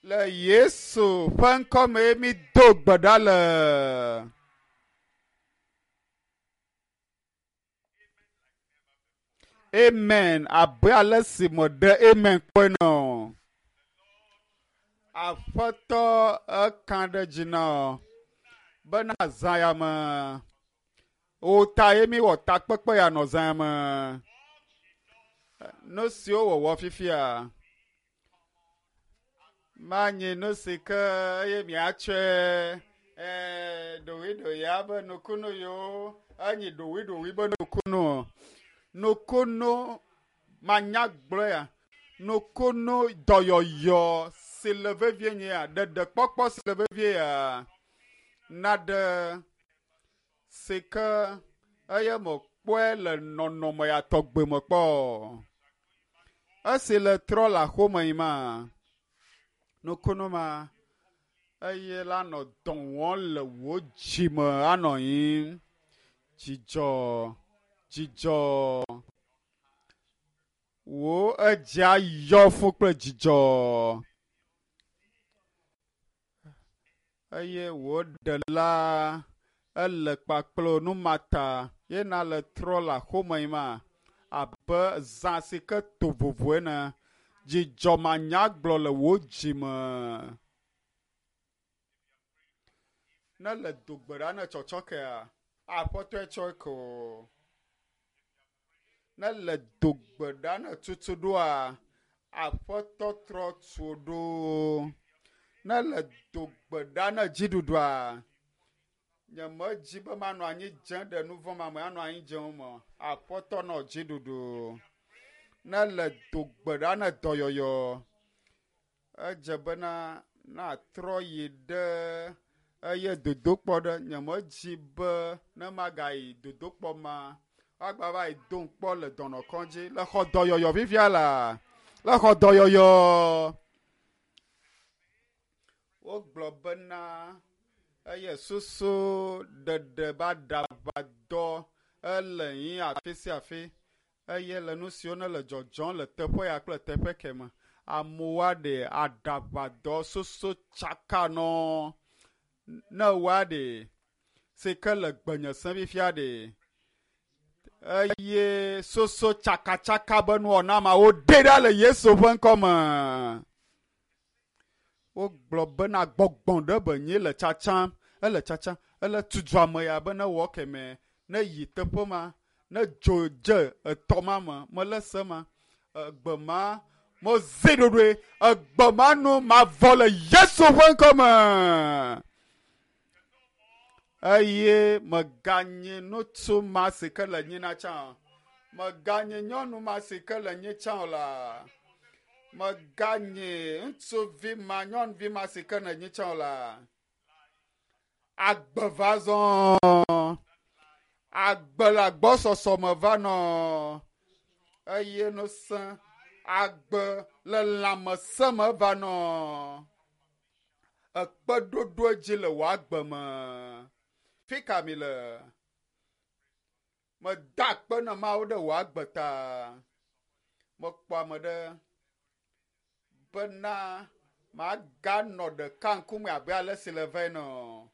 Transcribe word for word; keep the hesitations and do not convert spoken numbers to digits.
Le Yesu ƒe ŋkɔme mi do gbe ɖa le. Amen. Abe ale si meɖe amen kpɔe nɔ. Aƒetɔ eka ɖe dzi nɔ bena zã ya me. Wò ta ye mi wɔ takpekpe ya nɔ zã ya me. Nu siwo wɔwɔ fifia manyi nu si ke eye miatsɔe ee ɖowiɖoya be nukunu yiwo enyi ɖowiɖowi be nukunu o. Nukunu manyagblɔe ya nukunu dɔyɔyɔ si le vevie nye ya ɖeɖekpɔkpɔ si le vevie ya naɖe si ke eye mekpɔe le nɔnɔme ya tɔgbe me kpɔ. Esi le trɔ le axome yi ma nukunu ma eye la nɔ dɔ wɔm le wò dzime anɔ anyi dzidzɔ dzidzɔ wò edzia yɔ fũ kple dzidzɔ eye wò ɖela ele kpakple numata yena le trɔ le axome yi ma abe zã si ke to vovo ene dzidzɔ manyagblɔ le wò dzime. Ne le do gbe ɖa ne tsɔtsɔ kea aƒetɔe tsɔe ko. Ne le do gbe ɖa ne tutu ɖoa aƒetɔ trɔ tu ɖo. Ne le do gbe ɖa ne dziɖuɖua nyemedzi be manɔ anyi dze ɖe nu vɔ̃ ma me anɔ anyi dze wo me aƒetɔ nɔ dziɖuɖu. Ne le do gbe ɖa ne dɔyɔyɔ edze bena natrɔ yi ɖe eye dodokpɔ ɖe nyemedzi be ne magayi dodokpɔ ma woagba va yi dom kpɔ le dɔnɔkɔdzi le xɔ dɔyɔyɔ fifia la le xɔ dɔyɔyɔ wogblɔ bena eye susu ɖeɖe be aɖaʋadɔ ele yi afi sia afi eye le nu siwo ne le dzɔdzɔm le teƒe ya kple teƒe keme amewo aɖe aɖaʋadɔ susu tsaka nɔ ne woa ɖe si ke le gbenye sem fifia ɖe eye soso tsakatsaka be nuwɔna ma woɖe ɖa le Yesu ƒe ŋkɔme. Wogblɔ bena gbɔgbɔ ɖe be nyi le tsatsam ele tsatsam ele tutu ame ya be ne wɔ keme ne yi teƒe ma ne dzo dze etɔ ma me mele se ma egbe ma mozi ɖoɖoe egbe ma nu mavɔ le Yesu ƒe ŋkɔme. Eye meganyi ŋutsu ma si ke le nyina tsã o. Meganyi nyɔnu ma si ke le nyi tsã o la. Meganyi ŋutsuvi ma nyɔnuvi ma si ke le nyi tsã o la. Agbe va zɔ. Agbe le agbɔsɔsɔ me va nɔ. Eye ŋusẽ agbe le lãmesẽ me va nɔ. Ekpeɖoɖo dzi le wò agbe me. Fi ka mi le? Meda akpe na Mawu ɖe wò agbe ta. Mekpɔ ame ɖe bena maganɔ ɖeka ŋkume abe ale si le va ene o.